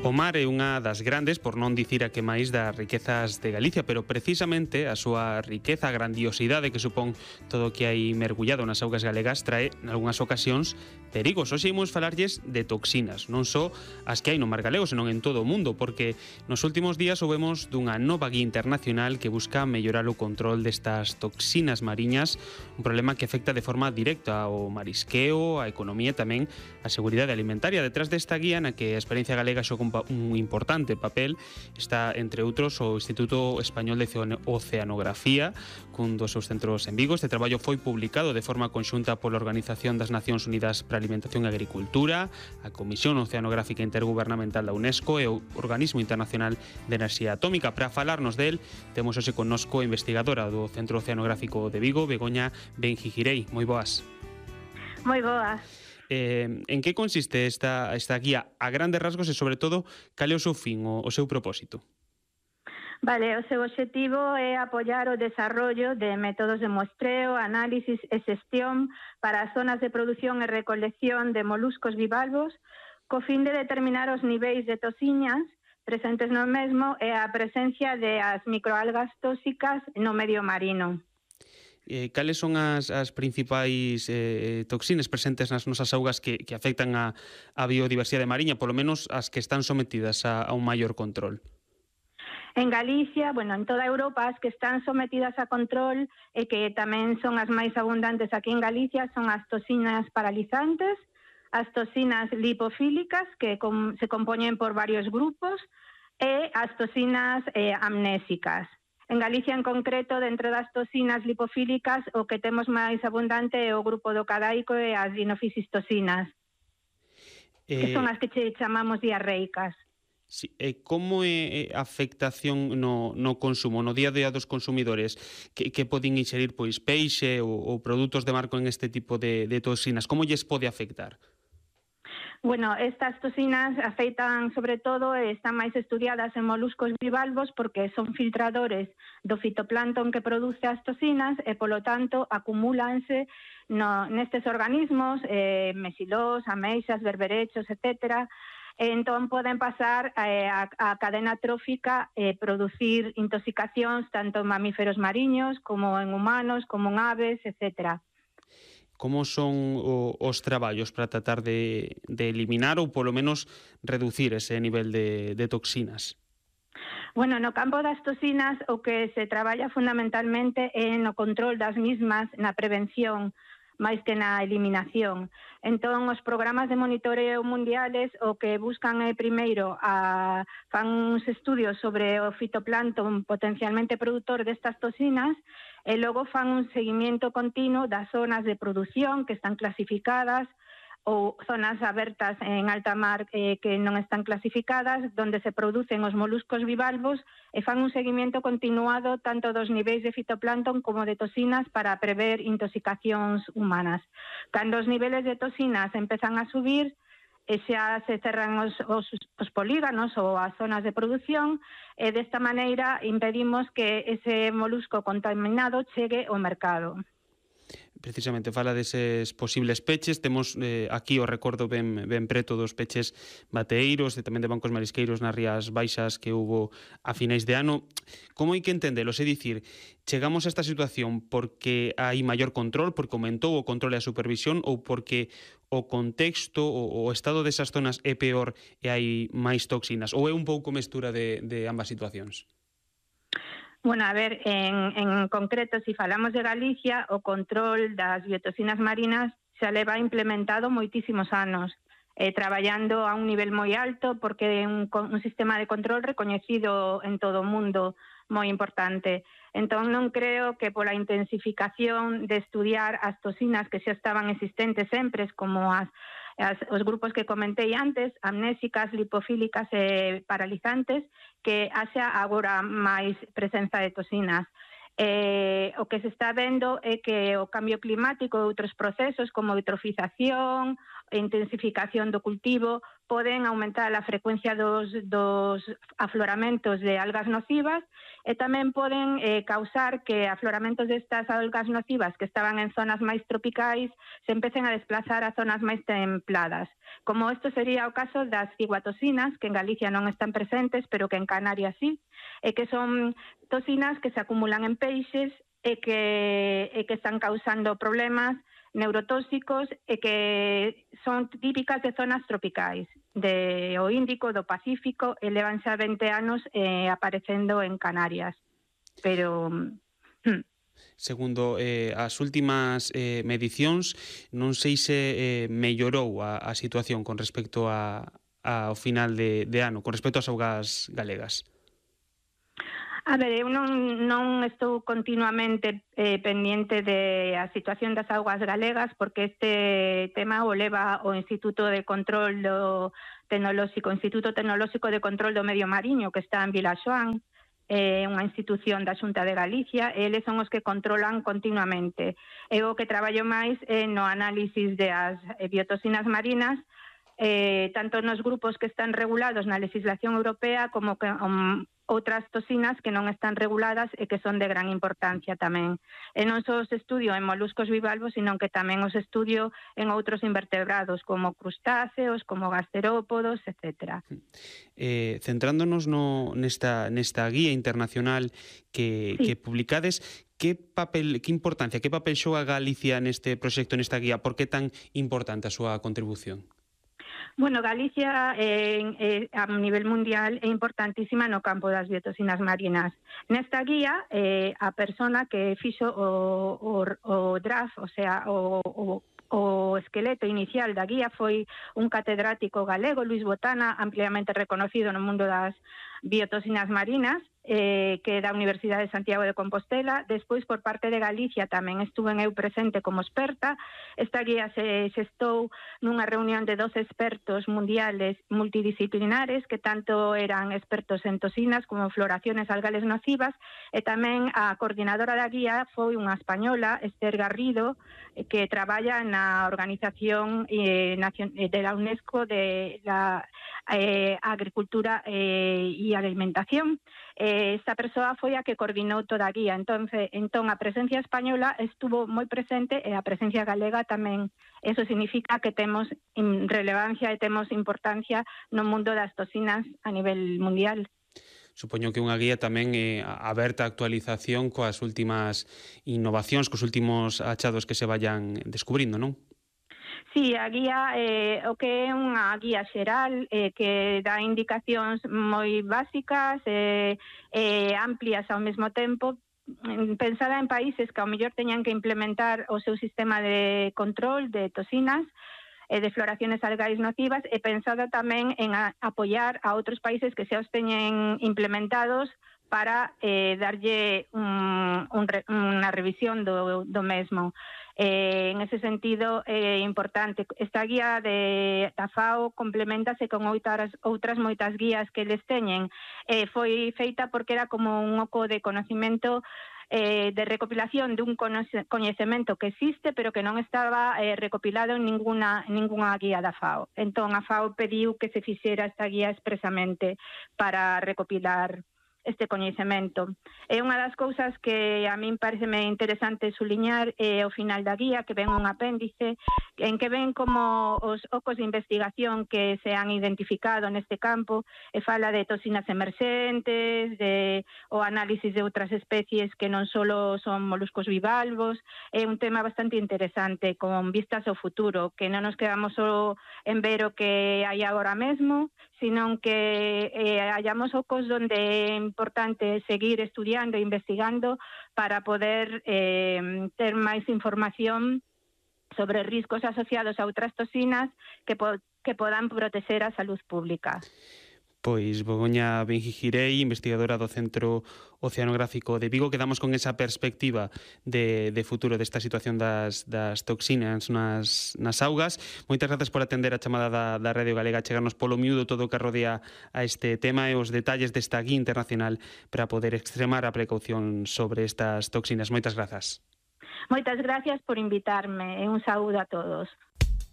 O mar é unha das grandes, por non dicir a que máis, das riquezas de Galicia, pero precisamente a súa riqueza, a grandiosidade que supón todo o que hai mergullado nas augas galegas trae, nalgúnas ocasións, perigos. Hoxe imos falarlles de toxinas, non só as que hai no mar galego, senón en todo o mundo, porque nos últimos días soubemos dunha nova guía internacional que busca mellorar o control destas toxinas mariñas, un problema que afecta de forma directa ao marisqueo, á economía e tamén á seguridade alimentaria. Detrás desta guía, na que a experiencia galega xoga un importante papel, está, entre outros, o Instituto Español de Oceanografía, cun dos seus centros en Vigo. Este traballo foi publicado de forma conxunta pola Organización das Nacións Unidas para a Alimentación e Agricultura, a Comisión Oceanográfica Intergubernamental da UNESCO e o Organismo Internacional de Enerxía Atómica. Para falarnos del, temos hoxe connosco a investigadora do Centro Oceanográfico de Vigo, Begoña Benjigirei. Moi boas. Moi boas. En que consiste esta guía a grandes rasgos e, sobre todo, cal é o seu fin, o seu propósito? Vale, o seu obxectivo é apoiar o desarrollo de métodos de muestreo, análisis e xestión para as zonas de produción e recolección de moluscos bivalvos co fin de determinar os niveis de toxinas presentes no mesmo e a presencia de as microalgas tóxicas no medio marino. Cales son as principais toxinas presentes nas nosas augas que afectan a biodiversidade mariña, polo menos as que están sometidas a un maior control? En Galicia, en toda Europa, as que están sometidas a control e que tamén son as máis abundantes aquí en Galicia son as toxinas paralizantes, as toxinas lipofílicas, que se compoñen por varios grupos, e as toxinas amnésicas. En Galicia, en concreto, dentro das toxinas lipofílicas, o que temos máis abundante é o grupo do cadaico e as dinofiscistoxinas, que son as que chamamos diarreicas. Sí, como é a afectación no consumo, no día a día dos consumidores que poden inxerir peixe ou produtos de mar con este tipo de toxinas? Como lles pode afectar? Estas toxinas afectan sobre todo e están máis estudiadas en moluscos bivalvos porque son filtradores do fitoplancton que produce as toxinas e, polo tanto, acumúlanse nestes organismos, mexilós, ameixas, berberechos, etcétera. Entón poden pasar a cadena trófica e producir intoxicacións tanto en mamíferos mariños como en humanos, como en aves, etcétera. Como son os traballos para tratar de eliminar ou polo menos reducir ese nivel de toxinas? No campo das toxinas o que se traballa fundamentalmente é no control das mismas, na prevención, máis que na eliminación. Entón, os programas de monitoreo mundiales o que buscan primeiro fan uns estudios sobre o fitoplancton potencialmente produtor destas toxinas e logo fan un seguimiento continuo das zonas de produción que están clasificadas ou zonas abertas en alta mar que non están clasificadas, donde se producen os moluscos bivalvos e fan un seguimento continuado tanto dos niveis de fitoplancton como de toxinas para prever intoxicacións humanas. Cando os niveles de toxinas empezan a subir, e xa se cerran os polígonos ou as zonas de produción e desta maneira impedimos que ese molusco contaminado chegue ao mercado. Precisamente fala deses posibles peches. Temos aquí o recordo ben preto dos peches bateeiros e tamén de bancos marisqueiros nas Rías Baixas que hubo a finais de ano. Como hai que entendelo? É dicir, chegamos a esta situación porque hai maior control, porque aumentou o control e a supervisión ou porque o contexto, o estado desas zonas é peor e hai máis toxinas? Ou é un pouco mestura de ambas situacións? En concreto, se falamos de Galicia, o control das biotoxinas marinas xa leva implementado moitísimos anos, traballando a un nivel moi alto porque é un sistema de control recoñecido en todo o mundo moi importante. Entón non creo que pola intensificación de estudiar as toxinas que xa estaban existentes sempre, como os grupos que comentei antes, amnésicas, lipofílicas e paralizantes, que haxa agora máis presenza de toxinas. O que se está vendo é que o cambio climático e outros procesos como eutrofización intensificación do cultivo, poden aumentar a frecuencia dos afloramentos de algas nocivas e tamén poden causar que afloramentos destas algas nocivas que estaban en zonas máis tropicais se empecen a desplazar a zonas máis templadas. Como isto sería o caso das ciguatosinas, que en Galicia non están presentes, pero que en Canarias sí, e que son toxinas que se acumulan en peixes e que están causando problemas neurotóxicos e que son típicas de zonas tropicais, do Índico, do Pacífico, e levan xa 20 anos aparecendo en Canarias. Pero... Segundo as últimas medicións, non sei se mellorou a situación con respecto ao final de ano, con respecto ás augas galegas. A ver, eu non estou continuamente pendiente da situación das augas galegas porque este tema o leva o Instituto de Control Instituto Tecnolóxico de Control do Medio Mariño, que está en Vilaxoán, unha institución da Xunta de Galicia, e eles son os que controlan continuamente. Eu o que traballo máis é no análisis das biotoxinas marinas, tanto nos grupos que están regulados na legislación europea como que outras toxinas que non están reguladas e que son de gran importancia tamén. E non só os estudio en moluscos bivalvos, sino que tamén os estudio en outros invertebrados como crustáceos, como gasterópodos, etc. Centrándonos nesta guía internacional que publicades, que importancia, que papel xoga Galicia neste proxecto, nesta guía? Por que tan importante a súa contribución? Bueno, Galicia a nivel mundial é importantísima no campo das biotoxinas marinas. Nesta guía, a persona que fixo o draft, o sea, o esqueleto inicial da guía foi un catedrático galego, Luis Botana, ampliamente reconocido no mundo das biotoxinas marinas, que é da Universidade de Santiago de Compostela. Despois, por parte de Galicia, tamén estuve eu presente como experta. Esta guía se xestou nunha reunión de 12 expertos mundiales multidisciplinares que tanto eran expertos en toxinas como en floraciones algales nocivas, e tamén a coordinadora da guía foi unha española, Esther Garrido, que traballa na Organización de la UNESCO de la Agricultura e Alimentación. Esta persoa foi a que coordinou toda a guía. Entón, a presencia española estuvo moi presente e a presencia galega tamén. Eso significa que temos relevancia e temos importancia no mundo das toxinas a nivel mundial. Supoño que unha guía tamén aberta a actualización coas últimas innovacións, cos últimos achados que se vayan descubrindo, non? Sí, a guía o que é unha guía xeral que dá indicacións moi básicas e amplias ao mesmo tempo, pensada en países que ao mellor teñan que implementar o seu sistema de control de toxinas e de floraciones algais nocivas, e pensada tamén en apoiar a outros países que xa os teñen implementados para darlle unha revisión do mesmo. En ese sentido é importante. Esta guía da FAO complementase con outras moitas guías que eles teñen. Foi feita porque era como un oco de conocimento de recopilación dun coñecemento que existe pero que non estaba recopilado en ninguna guía da FAO. Entón a FAO pediu que se fixera esta guía expresamente para recopilar este coñecemento. É unha das cousas que a min pareceme interesante suliñar ao final da guía, que ven un apéndice en que ven como os ocos de investigación que se han identificado neste campo, e fala de toxinas emerxentes, o análisis de outras especies que non só son moluscos bivalvos. É un tema bastante interesante con vistas ao futuro, que non nos quedamos só en ver o que hai agora mesmo, sino que hallamos ocos onde é importante seguir estudiando e investigando para poder ter máis información sobre riscos asociados a outras toxinas que podan protexer a salud pública. Pois Begoña Benjigirei, investigadora do Centro Oceanográfico de Vigo, quedamos con esa perspectiva de futuro desta situación das toxinas nas augas. Moitas grazas por atender a chamada da Radio Galega, chegarnos polo miúdo todo o que rodea a este tema e os detalles desta guía internacional para poder extremar a precaución sobre estas toxinas. Moitas grazas. Moitas gracias por invitarme e un saúdo a todos.